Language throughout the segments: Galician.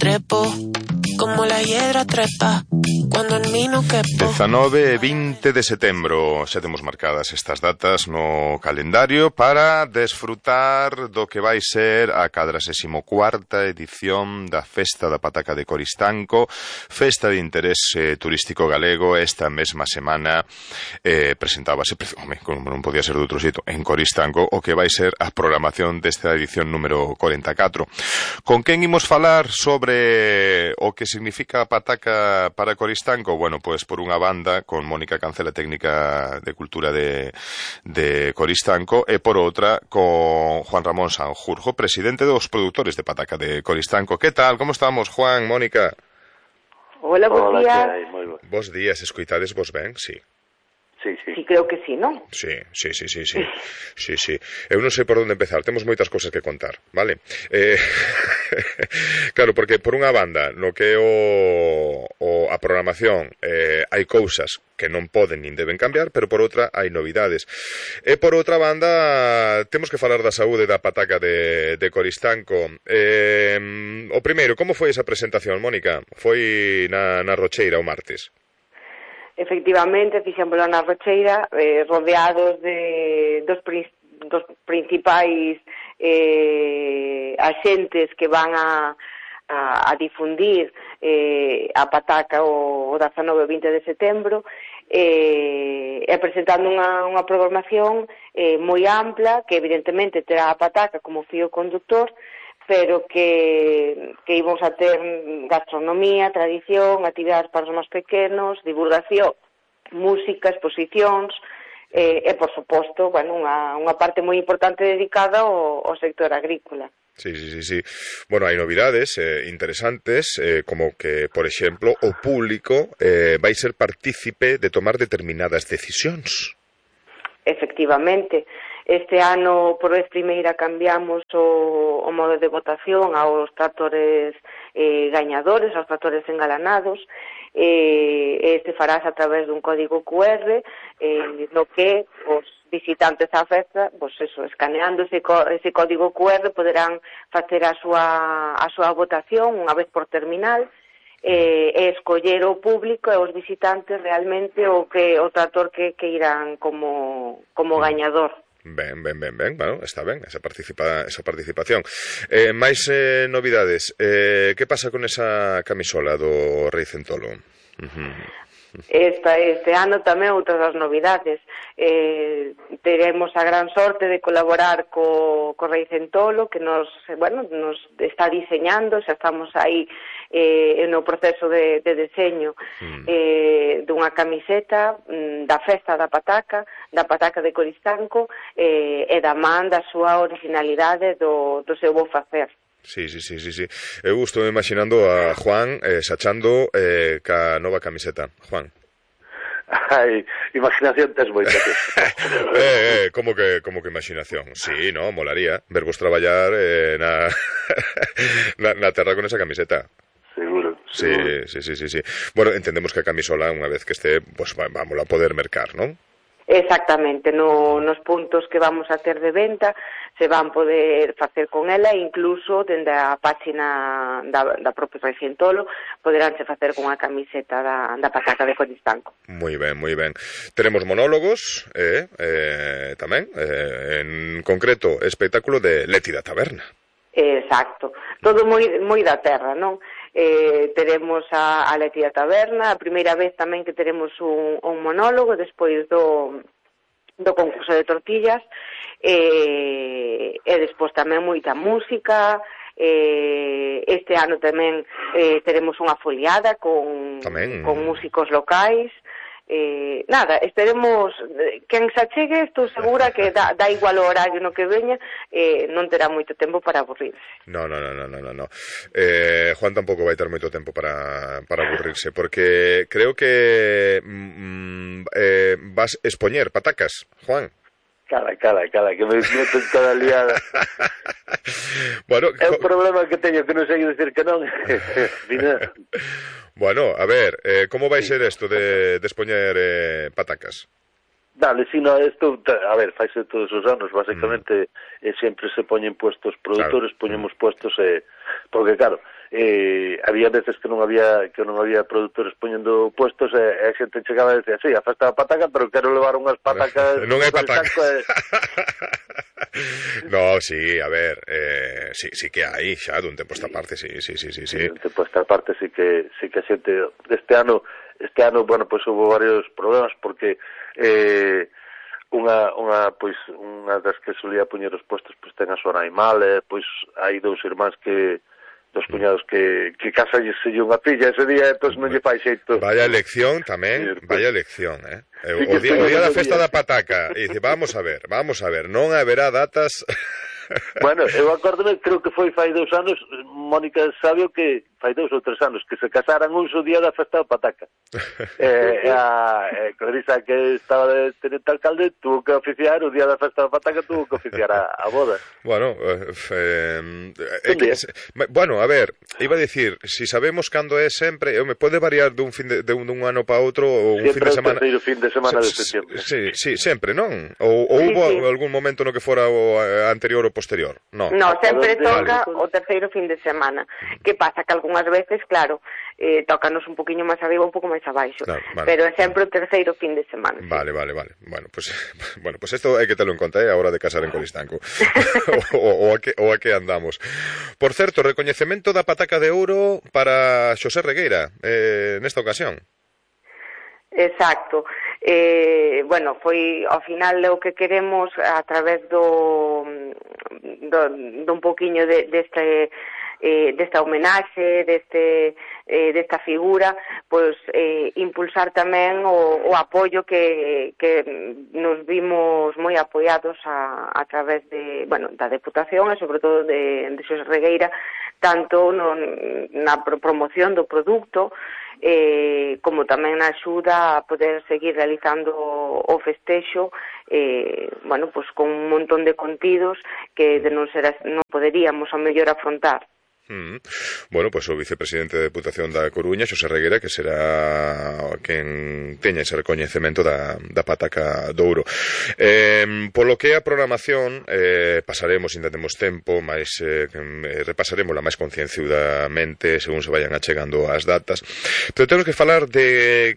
trepo, como la hiedra trepa, cuando en mí no quepo. 19 e 20 de setembro, xa temos marcadas estas datas no calendario para desfrutar do que vai ser a 44ª edición da Festa da Pataca de Coristanco, festa de interés turístico galego. Esta mesma semana presentábase, como non podía ser de outro xeito, en Coristanco, o que vai ser a programación desta edición número 44. Con quen imos falar sobre o que significa a pataca para Coristanco? Bueno, pois por unha banda con Mónica Cancela, técnica de cultura de Coristanco, e por outra con Juan Ramón Sanjurjo, presidente dos produtores de pataca de Coristanco. Que tal? Como estamos, Juan, Mónica? Hola, bos días. Bos días, escoitades vos ben? Sí. Sí, creo que sí, non? Sí. Eu non sei por onde empezar, temos moitas cosas que contar, vale? Claro, porque por unha banda, no que é a programación, hai cousas que non poden nin deben cambiar, pero por outra hai novidades. E por outra banda, temos que falar da saúde da pataca de Coristanco. O primeiro, como foi esa presentación, Mónica? Foi na Rocheira o martes? Efectivamente, fixémoslo na Rocheira, rodeados dos principais axentes que van a difundir a pataca o 19 e 20 de setembro, e presentando unha programación moi ampla, que evidentemente terá a pataca como fío conductor, pero que íbamos a ter gastronomía, tradición, actividades para os máis pequenos, divulgación, música, exposicións, e, por suposto, bueno, unha parte moi importante dedicada ao sector agrícola. Sí. Bueno, hai novidades interesantes, como que, por exemplo, o público vai ser partícipe de tomar determinadas decisións. Efectivamente. Este ano, por vez primeira, cambiamos o modo de votación aos tractores gañadores, aos tractores engalanados. Este farás a través dun código QR, no que os visitantes á festa, escaneando ese código QR, poderán facer a súa votación unha vez por terminal, e escoller o público e os visitantes realmente o tractor que irán como gañador. Ben, bueno, está ben esa participación. Mais novidades, que pasa con esa camisola do Rei Centolo? Este ano tamén outras das novidades. Teremos a gran sorte de colaborar co Rei Centolo, que nos está diseñando, xa estamos aí no proceso de deseño dunha camiseta da festa da pataca de Coristanco, e da man da súa originalidade do seu bo facer. Sí. Eu estou imaginando a Juan sachando ca nova camiseta. Juan. Ai, imaginación tes moita. Como que imaginación? Sí, no, molaría vervos traballar na terra con esa camiseta. Seguro. Sí. Bueno, entendemos que a camisola, unha vez que este, pues vamos a poder mercar, non? Exactamente, nos puntos que vamos a ter de venta se van poder facer con ela, incluso dende a página da propia Rei Centolo poderánse facer con a camiseta da pataca de Coristanco. Moi ben. Teremos monólogos tamén, en concreto espectáculo de Leti da Taberna. Exacto, todo moi da terra, non? Teremos a Leti da Taberna, a primeira vez tamén que teremos un monólogo despois do concurso de tortillas, e despois tamén moita música. Este ano tamén teremos unha foliada con músicos locais. Esperemos quen se achegue, estou segura que dá igual o horario no que veña, non terá moito tempo para aburrirse. No. Juan tampouco vai ter moito tempo para aburrirse, porque creo que vas expoñer patacas, Juan. Cala, que me meto en cada liada. Bueno, é un problema que teño, que non sei dicir que non. Bueno, a ver, como vai ser isto de expoñer patacas? Dale, si no, isto, a ver, faise todos os anos, basicamente, sempre se poñen puestos produtores, poñemos puestos, porque claro, había veces que non había produtores poñendo puestos e a xente chegaba e decía, sí, a festa da pataca, pero quero levar unhas patacas non hai patacas. No, sí, a ver, sí que hai xa dun tempo esta parte, sí. Dun tempo esta parte sí que a xente este ano, bueno, pois houve varios problemas porque unha das que solía poñer os puestos pois ten a súa animal, pois hai dos cuñados que casalles unha filla ese día, entón non lle fai xeito. Vaya elección tamén, vaya elección, o día da festa da pataca, e dice, vamos a ver, non haberá datas. Bueno, eu acórdome, creo que foi fai 2 anos, Mónica Sabio, que fai 2 ou 3 anos, que se casaran un só día da festa da pataca. A Clarisa, que estaba de tenente alcalde, tuvo que oficiar, o día da festa da pataca tuvo que oficiar a boda. Bueno, bueno, a ver, iba a dicir, si sabemos cando é sempre, me pode variar dun ano para outro, ou un fin de semana. Sempre o terceiro fin de semana de setembro. Sí, sempre, non? Ou houve algún momento no que fora o anterior ou posterior? No, sempre toca o terceiro fin de semana. Que pasa? Que algunhas veces, claro, tócanos un poquinho máis arriba, un pouco máis abaixo, vale. Pero é sempre o terceiro fin de semana. Vale. Bueno, pues esto hai que terlo en conta, a hora de casar en Coristanco. o a que andamos. Por certo, recoñecemento da pataca de ouro para Xosé Regueira nesta ocasión. Exacto. Bueno, foi ao final o que queremos a través dun poquinho desta homenaxe, desta figura, pois impulsar tamén o apoio que nos vimos moi apoiados a través da Deputación e sobre todo de Xosé Regueira, tanto na promoción do produto como tamén na axuda a poder seguir realizando o festexo pois con un montón de contidos que de non poderíamos ao mellor afrontar. Bueno, pois o vicepresidente da Deputación da Coruña, Xosé Regueira, que será quen teña ese recoñecemento da pataca de ouro. Polo que a programación pasaremos, ainda temos tempo, mais repasaremosla máis concienciudamente según se vayan achegando as datas, pero temos que falar de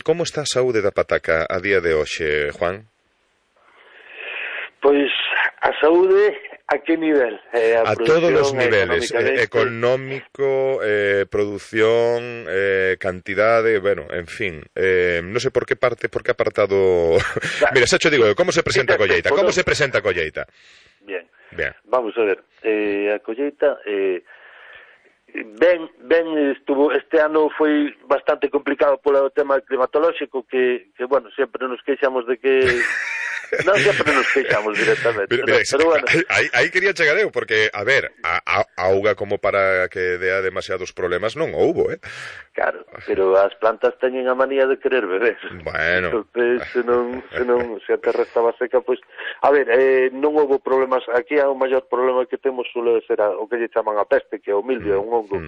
como está a saúde da pataca a día de hoxe, Juan. Pois a saúde a que nivel? A todos os niveles, económico, produción, cantidade, bueno, en fin, non sei por que apartado. Mira, xa te digo, como se presenta a colleita? Como se presenta a colleita? Bien. Vamos a ver, a colleita ben estuvo, este ano foi bastante complicado polo tema climatolóxico que bueno, sempre nos queixamos de que non sempre nos queixamos directamente, pero bueno. Aí quería chegar eu, porque, a ver, a auga como para que dea demasiados problemas non houbo, Claro, pero as plantas teñen a manía de querer beber. Bueno. Entón, se a terra estaba seca, pois, a ver, non houbo problemas, aquí o maior problema que temos suele ser o que lle chaman a peste, que é o mildio, é un hongo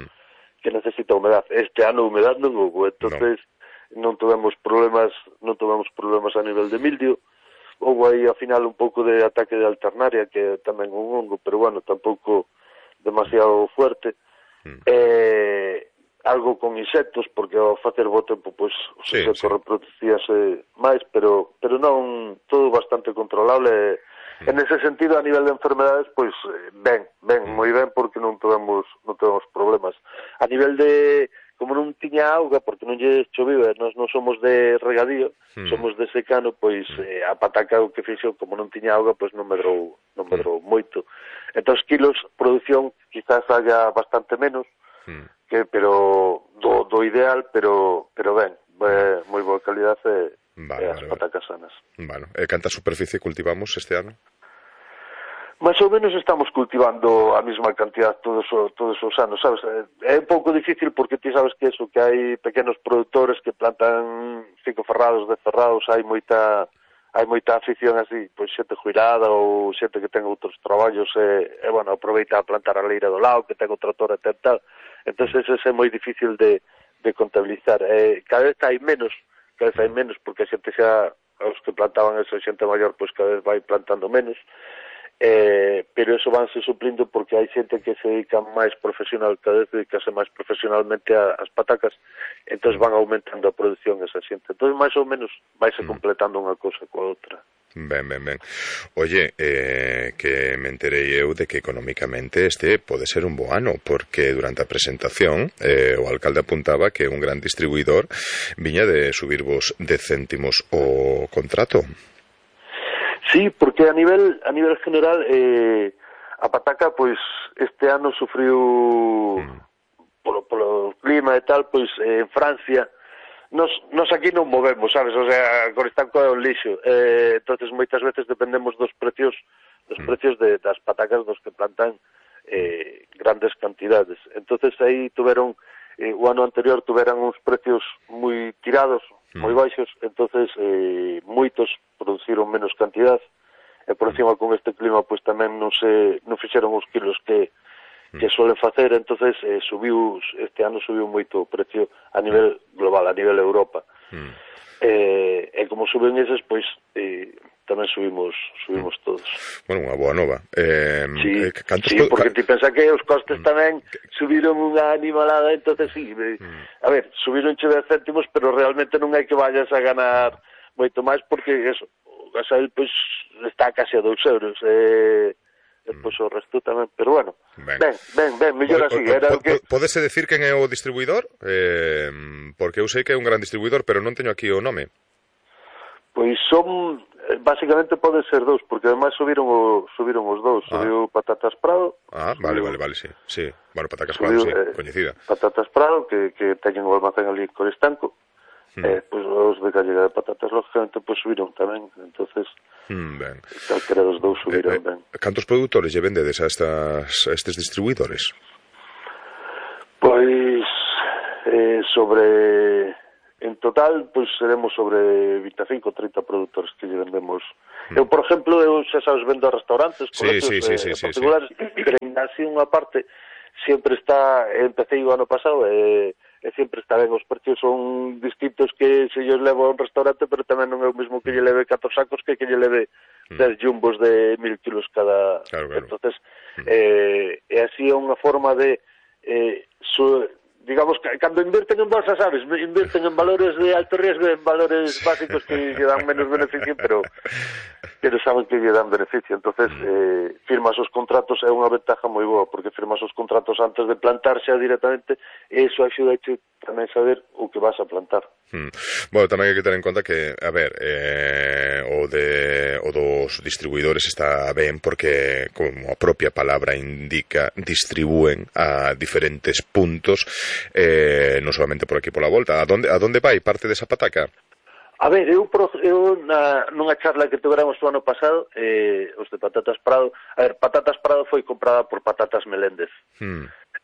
que necesita humedad. Este ano humedad non houbo, entonces non tivemos problemas a nivel de mildio. Houve aí, ao final, un pouco de ataque de alternaria, que é tamén un hongo, pero, bueno, tampouco demasiado fuerte. Algo con insectos, porque ao facer bo tempo, pois, os insectos reproducíase máis, pero non, todo bastante controlable. En ese sentido, a nivel de enfermedades, pois, moi ben, porque non tivemos problemas. A nivel de... como non tiña auga, porque non lle choviu, nós non somos de regadío, somos de secano, pois a pataca o que fixo, como non tiña auga, pois non medrou moito. Entón, kilos, produción, quizás haya bastante menos, pero do ideal, pero ben, moi boa calidade e as patacas sanas. Bueno, canta superficie cultivamos este ano? Más ou menos estamos cultivando a mesma cantidad todos os anos, sabes? É un pouco difícil porque ti sabes que eso, que hai pequenos produtores que plantan 5 ferrados, 10 ferrados, hai moita afición así, pois xente jubilada ou xente que ten outros traballos bueno, aproveita a plantar a leira do lado, que ten o trator e tal. Entón, eso é moi difícil de contabilizar. Cada vez hai menos, porque a xente xa, os que plantaban esa xente maior, pois cada vez vai plantando menos. pero eso vanse suplindo porque hai xente que se dedica máis profesional, cada vez dedicase máis profesionalmente ás patacas, entón van aumentando a produción esa xente, entón máis ou menos vaise completando unha cousa coa outra. Ben. Oye, que me enterei eu de que económicamente este pode ser un bo ano, porque durante a presentación o alcalde apuntaba que un gran distribuidor viña de subirvos 10 céntimos o contrato. Sí, porque a nivel general a pataca, pois, este ano sufriu polo clima e tal, pois en Francia nos aquí non movemos, sabes, o sea, Coristanco é un lixo, entonces moitas veces dependemos dos precios das patacas dos que plantan grandes cantidades, entonces aí tuveron o ano anterior tuveran uns precios moi tirados, moi baixos, entonces moitos produciron menos cantidad e por encima con este clima pois tamén non fixeron os kilos que suelen facer, entonces este ano subiu moito o precio a nivel global, a nivel Europa. E como suben eses, pois tamén subimos todos. Bueno, unha boa nova. Sí, porque ti pensa que os costes tamén subiron unha animalada, entonces sí, a ver, subiron 10 céntimos, pero realmente non hai que vayas a ganar moito máis, porque eso, o gasoil pois está case a 2 euros, pois o resto tamén, pero bueno, ben, mellor así. Pódese decir quen é o distribuidor? Porque eu sei que é un gran distribuidor, pero non teño aquí o nome. Pois son, basicamente pode ser dous, porque ademais subiron os dous, subiu Patatas Prado. Vale, sí. Bueno, Patatas Prado, sí, coñecida. Patatas Prado, que teñen o almacén ali en Coristanco. Pois os de Gallega de Patatas, lógicamente, pois subiron tamén, entonces calquera dos dous subiron ben. Cantos produtores lle vendedes a estes distribuidores? Pois en total, pois seremos sobre 25 ou 30 produtores que lle vendemos. Eu, por exemplo, xa sabes, vendo a restaurantes, colegios particulares, pero ainda así unha parte sempre empecé o ano pasado e sempre está ben, os precios son distintos que se lles leva a un restaurante, pero tamén non é o mesmo que lle leve 4 sacos que lle leve 10 jumbos de 1000 kilos cada. Claro. Entonces, así é unha forma de digamos, cando invirten en bolsa, sabes, invirten en valores de alto riesgo, en valores básicos que lle dan menos beneficio, pero saben que lle dan beneficio. Entonces, firmas os contratos, é unha ventaja moi boa, porque firmas os contratos antes de plantar xa directamente, e iso axuda a tamén saber o que vas a plantar. Bueno, tamén hai que ter en conta que, a ver, o dos distribuidores está ben porque, como a propia palabra indica, distribúen a diferentes puntos, non solamente por aquí pola volta. A donde vai parte desa pataca? A ver, eu nunha charla que tuveramos o ano pasado, os de Patatas Prado, Patatas Prado foi comprada por Patatas Meléndez.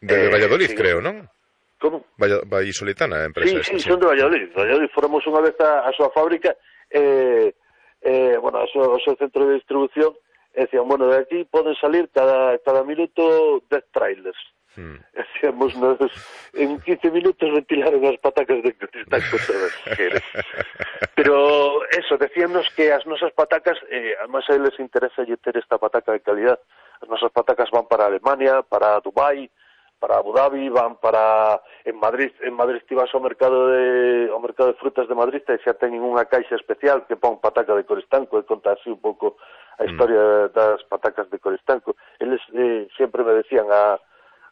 De Valladolid, creo, non? Como? Vallisoletana, a empresa. Sí, son de Valladolid. Fóramos unha vez a súa fábrica, bueno, o seu centro de distribución, e decían, bueno, de aquí poden salir cada minuto 10 trailers. Decíamos, en 15 minutos ventilaron as patacas de Coristanco todas. Pero eso, decíanos que as nosas patacas, además a eles interesa ter esta pataca de calidad. As nosas patacas van para Alemania, para Dubai, para Abu Dhabi, van para en Madrid ti vas ao mercado de frutas de Madrid e xa teñen unha caixa especial que pon pataca de Coristanco e conta así un pouco a historia das patacas de Coristanco. Eles sempre me decían a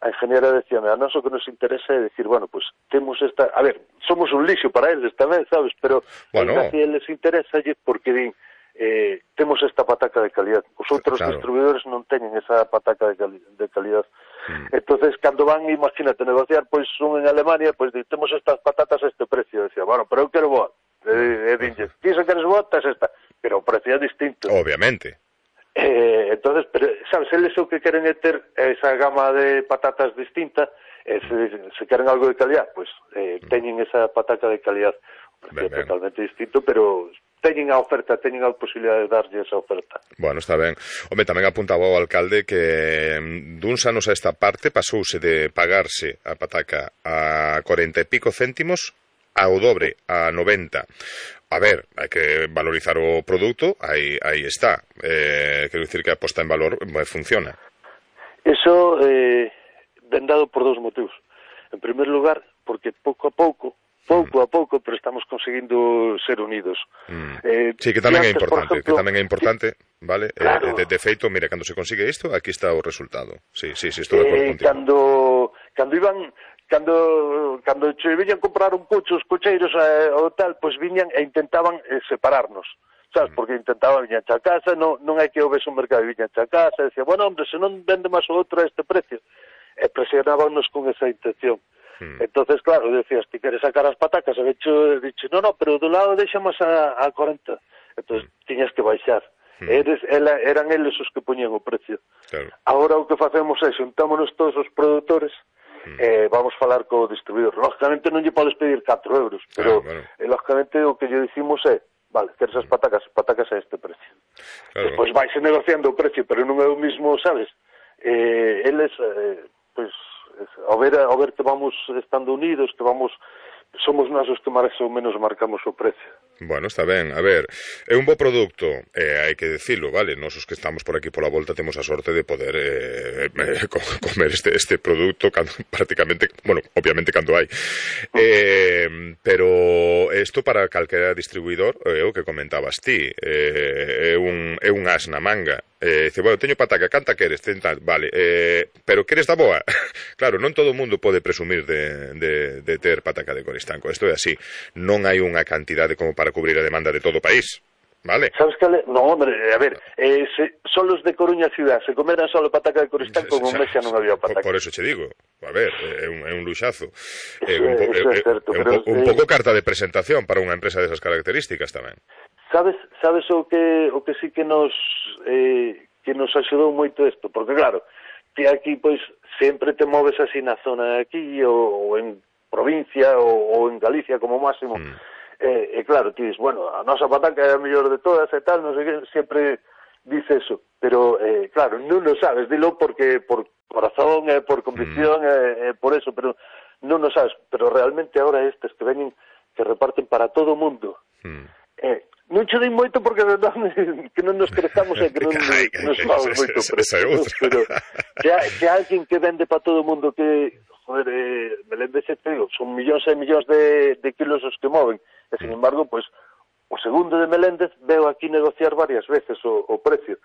ingeniera decíame, a nós o que nos interesa é decir, bueno, pues temos esta, a ver, somos un lixo para eles tamén, sabes, pero bueno, así eles interesa porque din, temos esta pataca de calidad. Os outros distribuidores non teñen esa pataca de calidad. Entonces, cando van, imagínate, negociar, pois un en Alemania, pois temos estas patatas a este precio. Decía, bueno, pero eu quero boa. E dinlle, ti se queres boa, tes esta. Pero o precio é distinto. Obviamente. Entonces, pero, sabes, eles o que queren é ter esa gama de patatas distinta, se queren algo de calidad, pois teñen esa pataca de calidad. É totalmente distinto, pero teñen a oferta, teñen a posibilidade de darlle esa oferta. Bueno, está ben. Home, tamén apuntaba o alcalde que duns anos a esta parte pasouse de pagarse a pataca a 40 e pico céntimos ao dobre, a 90. a ver, hai que valorizar o produto, aí está. Quero dicir que a posta en valor funciona. Eso ven dado por dous motivos. En primer lugar, porque pouco a pouco, pero estamos conseguindo ser unidos. Sí, que tamén é importante, vale? Claro. De feito, mira, cando se consigue isto, aquí está o resultado. Sí, estou de acordo contigo. Cando che viñan comprar un coche, os cocheiros ou tal, pois viñan e intentaban separarnos. Sabes, porque intentaban viñan a casa, non hai que houvese un mercado, viñan a casa, e decía, bueno, hombre, se non vende máis o outro a este precio. E presionábanos con esa intención. Entonces, claro, decías, ti queres sacar as patacas, e dixe, no, pero do lado deixa máis a 40. Entonces, tiñas que baixar. Eran eles os que poñían o precio. Claro. Agora o que facemos é, xuntámonos todos os produtores, vamos falar co distribuidor. Lógicamente non lle podes pedir 4 euros, pero lógicamente o que lle dicimos é, vale, queres as patacas a este precio. Claro. Despois vaise negociando o precio, pero non é o mismo, sabes? Eles, pois, ao ver que vamos estando unidos, que somos nós os que máis ou menos marcamos o precio. Bueno, está ben, a ver, é un bo produto, hai que decilo, vale, nos os que estamos por aquí pola volta temos a sorte de poder comer este produto prácticamente, bueno, obviamente cando hai, pero isto para calquera distribuidor, o que comentabas ti, é un as na manga. Dice, bueno, teño pataca, canta queres? Vale, pero queres da boa? Claro, non todo o mundo pode presumir de ter pataca de Coristanco, isto é así, non hai unha cantidade como para cubrir a demanda de todo o país, vale? Sabes que no, hombre, a ver, son los de Coruña ciudad, se comeran solo pataca de Coristanco, con un mes xa non había pataca. Por eso che digo, a ver, é un luxazo, un pouco carta de presentación para unha empresa desas características tamén. Sabes o que sí que nos axudou moito isto, porque claro, ti aquí pois sempre te moves así na zona de aquí ou en provincia ou en Galicia como máximo. E claro, ti dis, bueno, a nosa pataca é a mellor de todas e tal, non sei que, sempre dice eso, pero claro, non o sabes, dilo porque por corazón e por convicción e por eso, pero non o sabes, pero realmente agora estes que veñen, que reparten para todo o mundo, non che dei moito porque que non nos crezamos e que non nos vamos moito preso, pero que alguén que vende para todo o mundo que, joder, Meléndez, son millóns e millóns de kilos os que moven, e sin embargo, pois, o segundo de Meléndez veo aquí negociar varias veces o precio.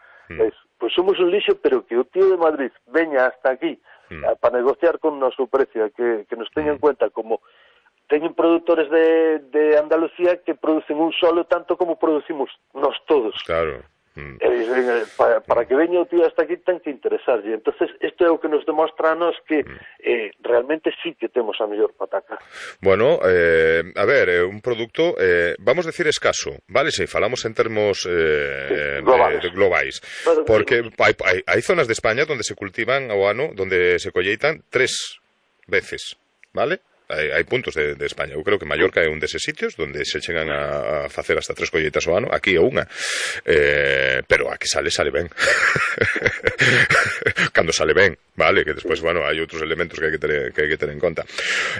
Pois somos un lixo, pero que o tío de Madrid veña hasta aquí para negociar con noso precio, que nos teña en cuenta como teñen produtores de Andalucía que producen un solo tanto como producimos nós todos. Claro. Para que veña o tío hasta aquí ten que interesarlle. Entonces, isto é o que nos demostra a nos que realmente sí que temos a mellor pataca. Bueno, a ver, un produto, vamos a decir escaso, vale? Se falamos en termos globais. Porque hai zonas de España donde se cultivan ao ano, donde se colleitan 3 veces, vale? Hai puntos de España. Eu creo que Mallorca é un deses sitios donde se chegan a facer hasta 3 colleitas ao ano, aquí é unha, pero a que sale ben. Cando sale ben, vale, que despois, bueno, hai outros elementos que hai que ter en conta.